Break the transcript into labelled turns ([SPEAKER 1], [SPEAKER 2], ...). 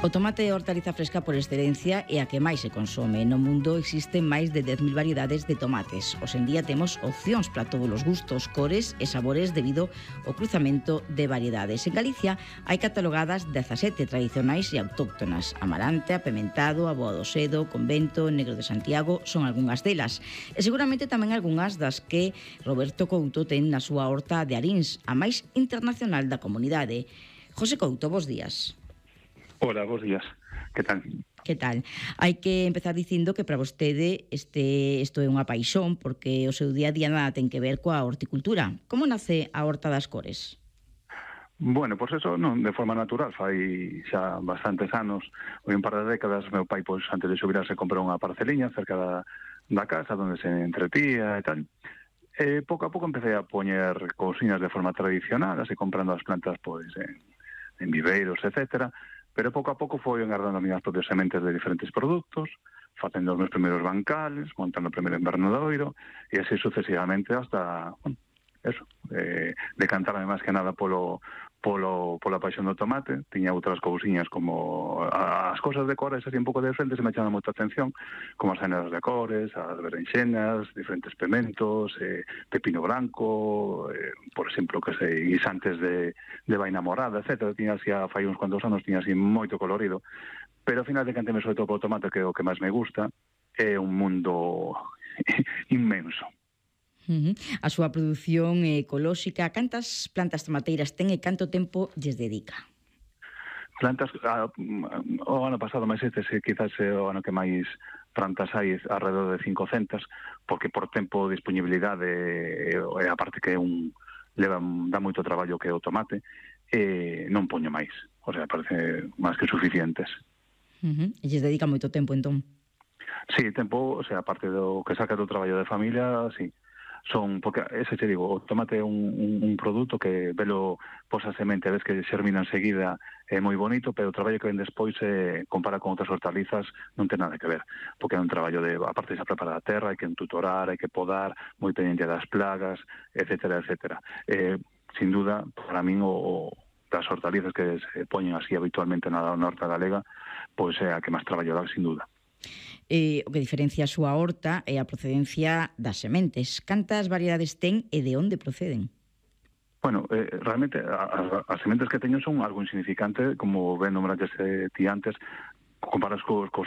[SPEAKER 1] O tomate é a hortaliza fresca por excelencia e a que máis se consome. No mundo existen máis de 10.000 variedades de tomates. Hoxe en día temos opcións para todos os gustos, cores e sabores debido ao cruzamento de variedades. En Galicia hai catalogadas 17 tradicionais e autóctonas. Amarante, apementado, aboa do sedo, convento, negro de Santiago son algunhas delas. E seguramente tamén algunhas das que Roberto Couto ten na súa horta de Arins, a máis internacional da comunidade. José Couto, bos días.
[SPEAKER 2] Hola, bos días. Que tal?
[SPEAKER 1] Que tal? Hai que empezar dicindo que para vostede isto é unha paixón porque o seu día a día nada ten que ver coa horticultura. Como nace a Horta das Cores?
[SPEAKER 2] Bueno, pois eso non de forma natural, fai xa bastantes anos, ou un par de décadas, meu pai, pois, antes de xubirarse, comprou unha parceliña cerca da casa, onde se entretía e tal. E pouco a pouco empecé a poñer cousiñas de forma tradicional, así comprando as plantas, pois, en viveiros, etcétera. Pero pouco a pouco foi engardando as minhas propias sementes de diferentes produtos, facendo os meus primeiros bancales, montando o primeiro invernadoiro, e así sucesivamente hasta, bueno, eso, decantarme máis que nada pola paixón do tomate. Tiña outras cousiñas como as cosas de cores así un pouco de frente, se me chaman moita atención, como as cenas de cores, as berenxenas, diferentes pementos, pepino blanco, por exemplo, que sei, guisantes de vaina morada, etc. Tiña así, fai uns cuantos anos, tiña así moito colorido, pero ao final decanteme sobre todo polo tomate, que é o que máis me gusta. É un mundo inmenso.
[SPEAKER 1] A súa produción ecolóxica, cantas plantas tomateiras ten e canto tempo lles dedica?
[SPEAKER 2] Plantas, o ano pasado, máis quizás é o ano que máis plantas hai, alrededor de 500, porque por tempo, disponibilidade, e a parte que dá moito traballo que é o tomate, non poño máis. O sea, parece máis que suficientes.
[SPEAKER 1] E lles dedica moito tempo, entón?
[SPEAKER 2] Sí, tempo, o sea, aparte do que saca do traballo de familia, sí. Porque ese te digo, o tomate é un produto que velo posa semente, ves que xermina enseguida, é moi bonito, pero o traballo que ven despois, compara con outras hortalizas, non ten nada que ver, porque é un traballo aparte de xa preparar a terra, hai que entutorar, hai que podar, moi pendiente das plagas, etcétera, etcétera. Sin duda, para min, das hortalizas que se poñen así habitualmente na horta galega, pois é a que máis traballo dá, sin duda.
[SPEAKER 1] O que diferencia a súa horta é a procedencia das sementes. Cantas variedades ten e de onde proceden?
[SPEAKER 2] Bueno, realmente as sementes que teño son algo insignificante, como ben nombraste ti antes, comparas cos